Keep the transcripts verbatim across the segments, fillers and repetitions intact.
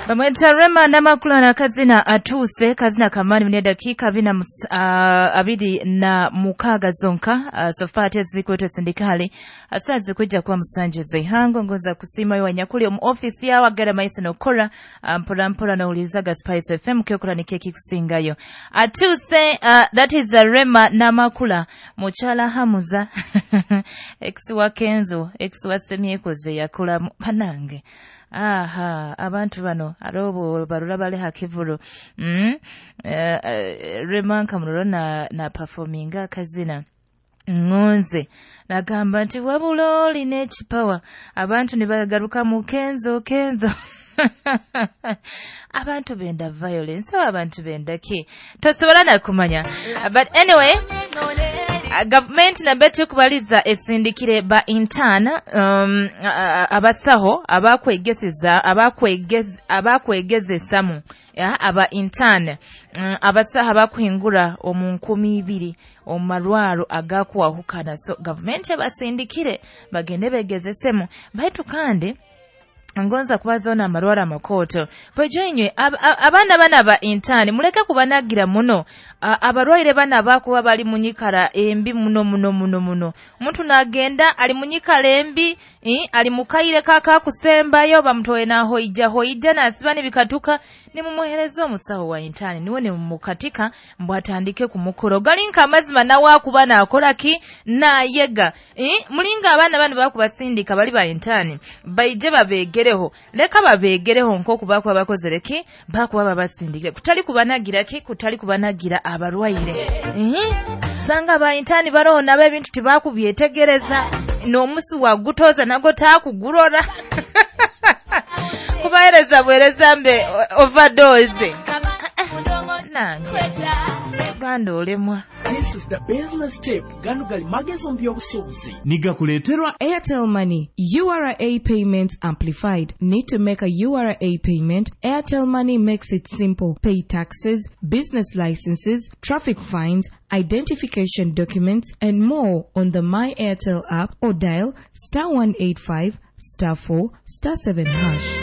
Bamweta Rema Namakula na kazina atuuse kazina kamani mune dakiika abiri na mus- ah, abiri na mukaaga zonka uh, sofa ate zikwete sindikali asa zikujja kuba musanje zeihango ngoza kusiima yo wanyakuli omu office yawe agara maiso nokora ah, mpora mpora nowulirizaga Spice F M kyokora ni keki kusingayo atuuse uh, that is uh, Rema Namakula mukyala Hamuza ex wa Kenzo ex wa Semyekoze yakola mu- panange aha abantu bano arobo barura bali hakivuru mm? uh, uh, Rema nkamurora na, na performinga akazina ngonze nagamba nti wabula olina ekipawa abantu ne bagaruka mu Kenzo Kenzo abantu benda violence oba abantu benda ki tosobola nakumanya. But anyway, uh, gavumenti nabyo tukubaliza esindikire ba intern um, abasaho abakwegeseza abakwegez abakwegezesamu ya aba intern um, abasaho abakuhingura omu nkumi ibiri omu marwaro agakuwahukana. So gavumenti abasindikire bagende begezesemu baitu kandi ngonza kubaza amarwara amakoto bwejo ab, ab, abaana bana ba intern muleke kubanagira muno. Abarwaire bana bakuba bali munyikara embi muno muno muno muno omuntu nagenda ali munyikara embi eh, ali mukaire kaka kusembayo bamutowe naho ija hoija nasiba nibikatuka nimumuhereza omusawo wa intern niwe nimukatika mbwatandike kumukoro galinka amazima nawe akuba nakola ki nayega eh, mulinga abaana bano bakubasindika bali ba intern baije babegereho leka babegereho nkoku bakuba bakozere ki bakuba babasindikire kutali kubanagira ki kutali kubanagira abarwaire eh, sanga ba intern barona ebintu tibakubyetegereza n'omusi wagutoza nago takugurora kubahereza bwereza mbe overdose nange Uganda olemwa. This is the business tip. Gano gali magezo by'obusuubuzi. Nigakuleeterwa Airtel Money. U R A payments amplified. Need to make a U R A payment? Airtel Money makes it simple. Pay taxes, business licenses, traffic fines, identification documents, and more on the My Airtel app or dial star one eight five star four star seven hash.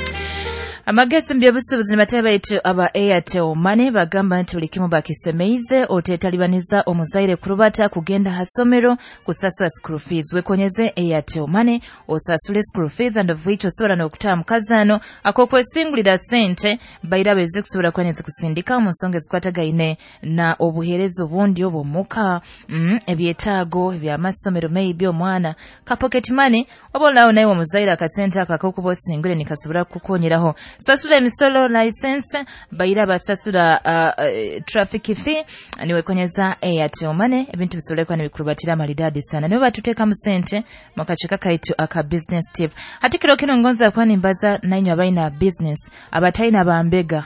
Amagezi mbyobusuubuzi nibatebe baitu aba Airtel Money bagamba nti buli kimu bakisemeize otetalibaniza omuzaire kurubata kugenda hasomero kusasula school fees. Wekonyeze Airtel Money osasule school fees and of which osobola n'okutaba mu kazaano ak'okwesingulira ssente baira beze kusobola kuba nezikusindika mu nsonga ezikwatagaine na obuheereza obundi obw'omuka mm, ebyetaago eby'amasomero maybe omwana ka pocket money oba olaawo naye omuzaire akasente ako ak'okuba osingule nikasobola kukukonyeraho. Sasula emisolo license baira basasula uh, uh, traffic fee niwekonyeza Airtel Money ebintu bisolekwa nibikurubatira maridadi sana niwe batuteeka mu sente mu kakiiko kaitu aka business tip. Hati kiro kino ngonza kuba nimbaza nainywe abalina business abatalina bambega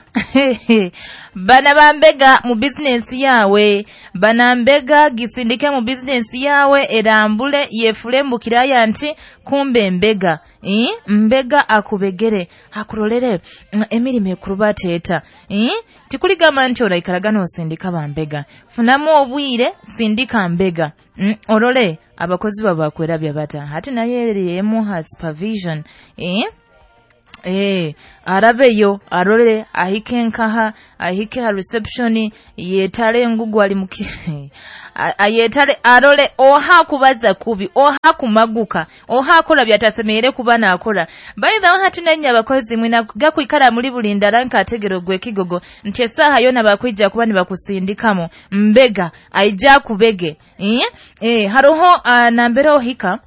bana bambega mu business yawe bana mbega gisindike mu business yawe erambule yefule mbukiraya nti kumbe mbega eh? Mbega akubegere akurolere emirimu ekurubateeta eh? Tikuligamba nti olaikaraga n'osindika bambega funamu obwire sindika mbega mm, orole abakozi babakwerabya bata hati naye eriemu supervision eh? Eh, arabeyo arole ahike nkaha ahike ha reception yetale engugu ali muki ayetale arole oha kubaza kubi oha kumaguka oha akola byatasemeere kuba naakola. By the way hati nanya abakozi mwina gakwikara muri buli ndala nkategero gwe kigogo nti esaaha yona bakwijja kuba nibakusindikamu mbega aija kubege eh, eh haroho uh, nambere ohika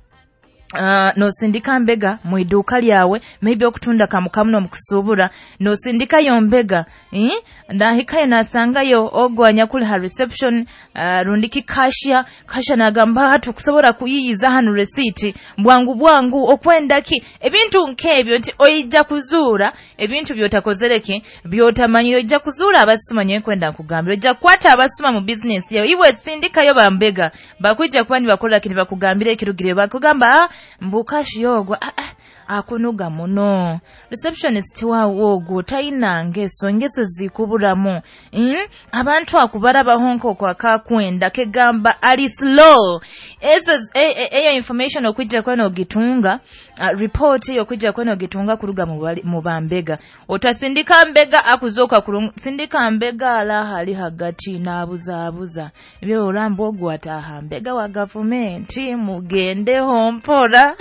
Uh, nosindika mbega mu iduka lyawe maybe okutunda kamukamu n'omukusuubura nosindikayo mbega eh? Ndahikayo nasangayo ogwanya kuli ha reception uh, rundiki cashier cashier nagamba hatu kusobola kuyiyiza hano receipt bwangu bwangu okwenda ki ebintu nkebyo nti oija kuzuura ebintu byotakozereki byotamanyire oija kuzuura abasuma nyewe kwenda nkugambira oija kukwata abasuma mu business yawe iwe sindikayo bambega bakwijja kuba nibakola kiri bakugambira ekirugire bakugamba ah, mbukashi yogwa ah, ah, Akunuga muno. Receptionist wawe ogwo tayina ngeso, ngeso zikuburamu. Mm? Abantu akubarabaho nk'oku akakwenda kegamba ali slow. Ezo eyo information okwijja kweno ogitunga, uh, report eyo okwijja kweno ogitunga kuruga mu bambega. Otasindika mbega akuzoka kurungu, sindika mbega ala hali hagati n'abuzabuza. Ebyo orambo ogwo ataha mbega wa gavumenti mugendeho mpora.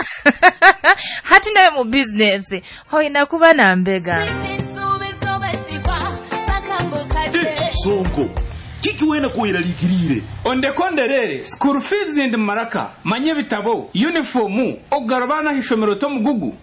Hati nawe mu business hoina kuba na mbega. Sonko kiki wena kuiralikirire ondekonderere school fees ndi maraka manye bitabo uniform ogarabana hishomero to mugugu.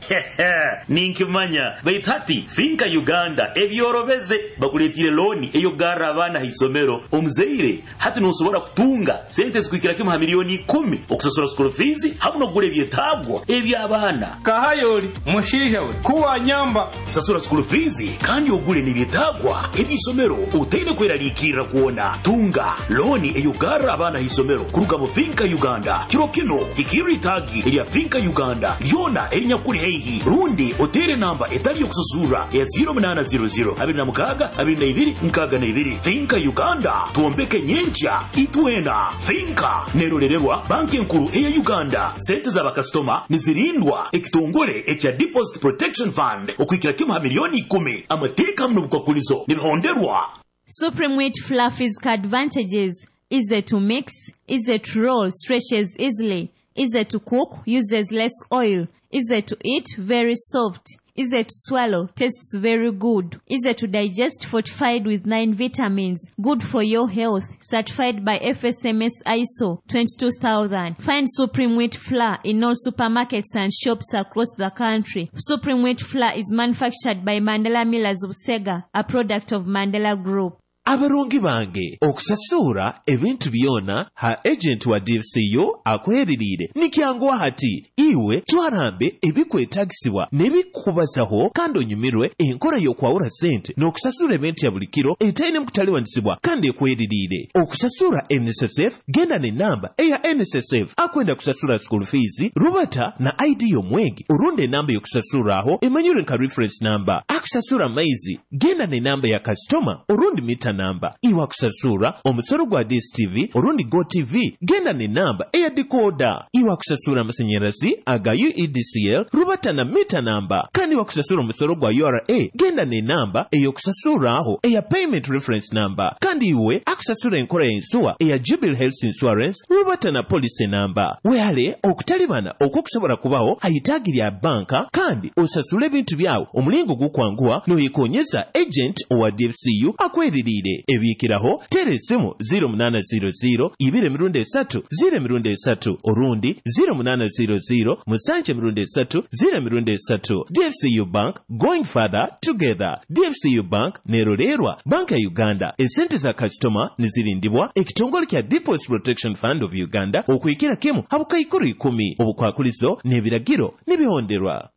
Ninkimanya baitati Finka Uganda ebyorobeze bakuletire loan eyo garra abana hisomero omuzeire hati nosobora kutunga sente zikwikira kimu ha milioni kumi okusasura school fees hamu nogule byetabwa ebyabana kahayoli mushija we kuwa nyamba sasura school fees kandi ogule nibyetabwa ebyisomero utaine kweralikirira kuona tunga loni eyugara abana hisomero kuruga mu Finka Uganda kiro kino ikiri tagi erya Finka Uganda lyona erinyakuri heihi rundi otere namba etali yokususura ya zero munana zero zero abiri na mukaga abiri na ibiri nkaga na ibiri. Finka Uganda tuombeke nyencha itwena. Finka nerolererwa banki enkuru eya Uganda. Sente za bakastoma nizirindwa ekitongole ekya Deposit Protection Fund okwikira kimu ha milioni ikumi. Amateeka muno bukwakulizo nibihonderwa. Supreme Wheat Flour physical advantages: easy to mix, easy to roll, stretches easily, easy to cook, uses less oil, easy to eat, very soft, easy to swallow, tastes very good, easy to digest, fortified with nine vitamins, good for your health, certified by F S M S I S O twenty-two thousand. Find Supreme Wheat Flour in all supermarkets and shops across the country. Supreme Wheat Flour is manufactured by Mandela Millers of Sega, a product of Mandela Group. Abarungi bange okusasura ebintu byona ha agent wa D F C U akweririire nikyanguwa hati iwe twarambe ebikwetagisibwa n'ebikubazaho kandi onyumirwe enkola y'okwawula sente n'okusasura ebintu ya buli kiro etaine mukutaliwanisibwa kandi ekweririire. Okusasura N S S F genda n'enamba eya N S S F akwenda kusasura school fees rubata na I D y'omwegi orunda enamba y'okusasuraho emanyire nka reference number. Akusasura maizi genda n'enamba ya customer orundi mita namba. Iwa kusasura omusoro gwa D S T V orundi Go T V genda ne namba eya decoder. Iwa kusasura amasenyerezi aga U E D C L rubata na mita namba. Kandi wa kusasura omusoro gwa U R A genda ne namba eyo kusasura aho eya payment reference number. Kandi iwe akusasura enkola y'ensuwa eya Jubilee Health Insurance rubata na policy namba. Wehale okutalibana okwokusobola kubaho hayitaagi lya banka kandi osasule ebintu byawo omulingo gukwanguwa noyekonyeza agent owa D F C U akweririire. Ebikiraho tera esimu zero munana zero zero ibiri emirundi esatu zero emirundi esatu orundi zero munana zero zero musanje emirundi esatu zero emirundi esatu. D F C U Bank, going further together. D F C U Bank nerolerwa Banka ya Uganda. Esente za customer nizirindibwa ekitongole kya Deposit Protection Fund of Uganda okwikira kimu habukaikuru ikumi obukwakulizo n'ebiragiro n'ebihonderwa.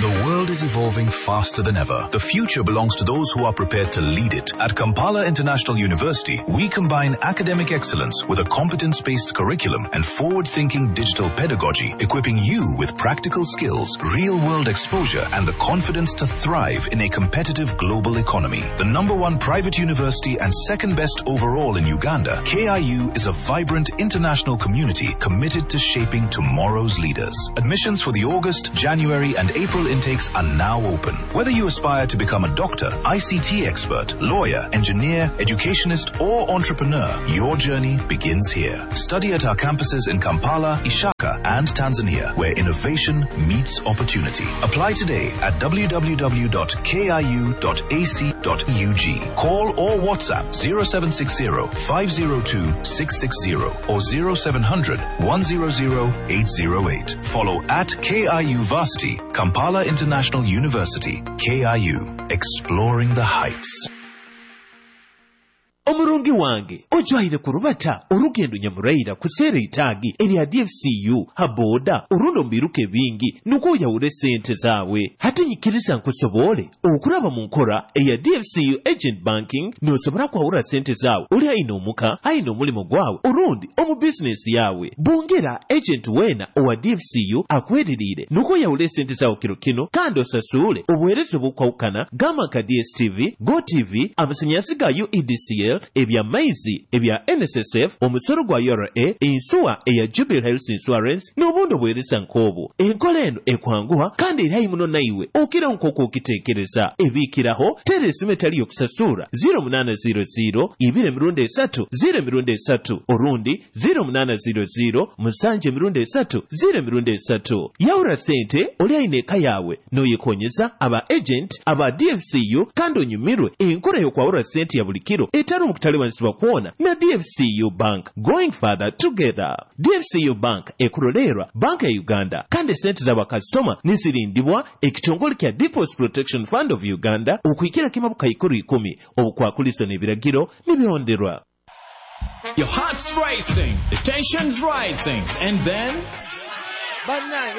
The world is evolving faster than ever. The future belongs to those who are prepared to lead it. At Kampala International University, we combine academic excellence with a competence-based curriculum and forward-thinking digital pedagogy, equipping you with practical skills, real-world exposure, and the confidence to thrive in a competitive global economy. The number one private university and second best overall in Uganda, K I U is a vibrant international community committed to shaping tomorrow's leaders. Admissions for the August, January, and April intakes are now open. Whether you aspire to become a doctor, I C T expert, lawyer, engineer, educationist, or entrepreneur, your journey begins here. Study at our campuses in Kampala, Ishaka, and Tanzania, where innovation meets opportunity. Apply today at w w w dot k i u dot a c dot u g. Call or WhatsApp zero seven six zero, five zero two, six six zero or zero seven hundred, one zero zero, eight zero eight. Follow at K I U Varsity, Kampala International University, K I U, exploring the heights. Omurungi wange ojwaire kurubata orugendo nyamuraira kuseera itaagi erya D F C U ha boda orundi omu biruka ebingi nukwo oyawure sente zaawe. Hati nyikiriza nkusobole okuraba mu nkora eya D F C U agent banking nosobora kwawura sente zaawe ori aine omuka aine omulimo gwawe orundi omu bizinesi yawe. Bongera agent wena owa D F C U akweririire nukwo oyawure sente zaawe kiro kino kandi osasuule obuheereza obukwawukana gamba nka D S T V, Go T V, amasanyalazi ga U E D C L, ebya maizi, ebya N S S F, omusoro gwa U R A, ensuwa eya Jubilee Health Insurance n'obundi obuheereza nk'obwo. Enkola eno ekwanguha kandi eri muno naiwe okira nk'oku okiteekereza. Ebiikiraho teera esimu etali y'okusasura zero munaana zero zero ibiri emirundi esatu zero emirundi esatu orundi zero munaana zero zero musanju emirundi esatu zero emirundi esatu. Yawura sente oli aine eka yawe n'oyekonyeza aba agent aba D F C U kandi onyumirwe enkola y'okwawura sente ya buli kiro etali omu kutalibanisibwa kwona na D F C U Bank. Going further together. D F C U Bank ekurolerwa Bank ya Uganda kandi sente z'abakasitoma nizirindibwa ekitongole kya Deposit Protection Fund of Uganda okuhikira kimu bukaikuru ikumi obukwakuliso n'ebiragiro nibihonderwa. Your heart's racing, the tension's rising, and then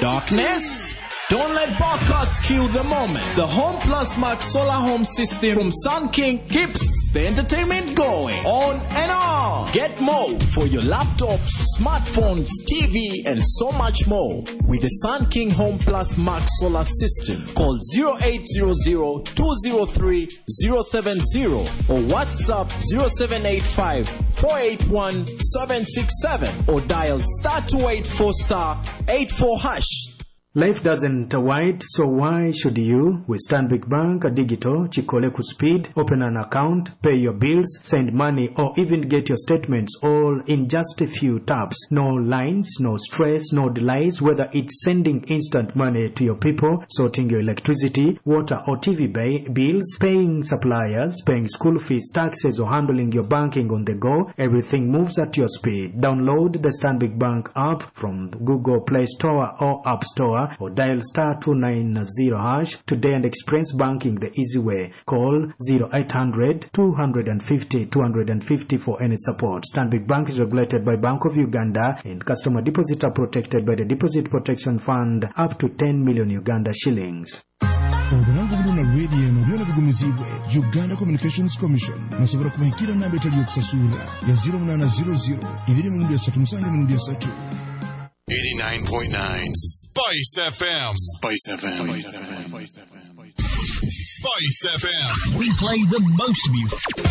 darkness. Don't let barcodes kill the moment. The Home Plus Max Solar Home System from Sun King keeps the entertainment going on and on. Get more for your laptops, smartphones, T V, and so much more with the Sun King Home Plus Max Solar System. Call zero eight zero zero, two zero three, zero seven zero or WhatsApp zero seven eight five, four eight one, seven six seven or dial star two eight four star eight four hash. Life doesn't wait, so why should you? With Stanbic Bank Digital, Chikole ku speed, open an account, pay your bills, send money, or even get your statements all in just a few taps. No lines, no stress, no delays, whether it's sending instant money to your people, sorting your electricity, water or T V bills, paying suppliers, paying school fees, taxes, or handling your banking on the go, everything moves at your speed. Download the Stanbic Bank app from Google Play Store or App Store or dial star two nine zero hash today and experience banking the easy way. Call zero eight hundred, two fifty, two fifty for any support. Stanbic Bank is regulated by Bank of Uganda and customer deposits are protected by the Deposit Protection Fund up to ten million Uganda shillings. Obulango buno na radio eno byona bigumizibwe Uganda Communications Commission nasobora kubahikira namba etali y'okusasura ya zero munaana zero zero ibiri emirundi esatu musanju emirundi esatu. eighty-nine point nine Spice F M. Spice F M. Spice F M. We play the most music.